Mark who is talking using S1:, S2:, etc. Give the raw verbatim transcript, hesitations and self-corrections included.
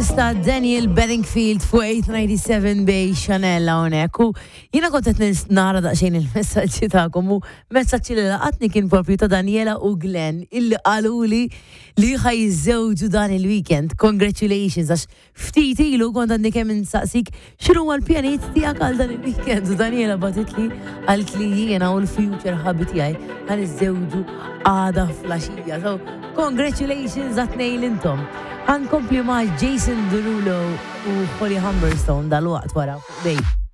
S1: Ġenesis ta' Daniel Bedingfield fuq eight ninety-seven Bay Chanel hawnhekk. U jiena kont qed nara daqsxejn il-messaġġi tagħkom u messaġġi li laqatni kien propju ta' Daniela u Glenn, illi qaluli li ħa jiżżewġu dan il-weekend. Congratulations, għax ftit ilu kont għadni kemm insaqsik x'inhu l-pjanijiet tiegħek għal dan il-weekend u Daniela bagħtitli, qalt li jiena u l-future hubby tiegħi ħa niżżewġu għada filgħaxija. So, congratulations għat-tnejn intom. Ħa nkompli ma' Jason Derulo u Holly Humberstone dal-waqt wara fuq Bay.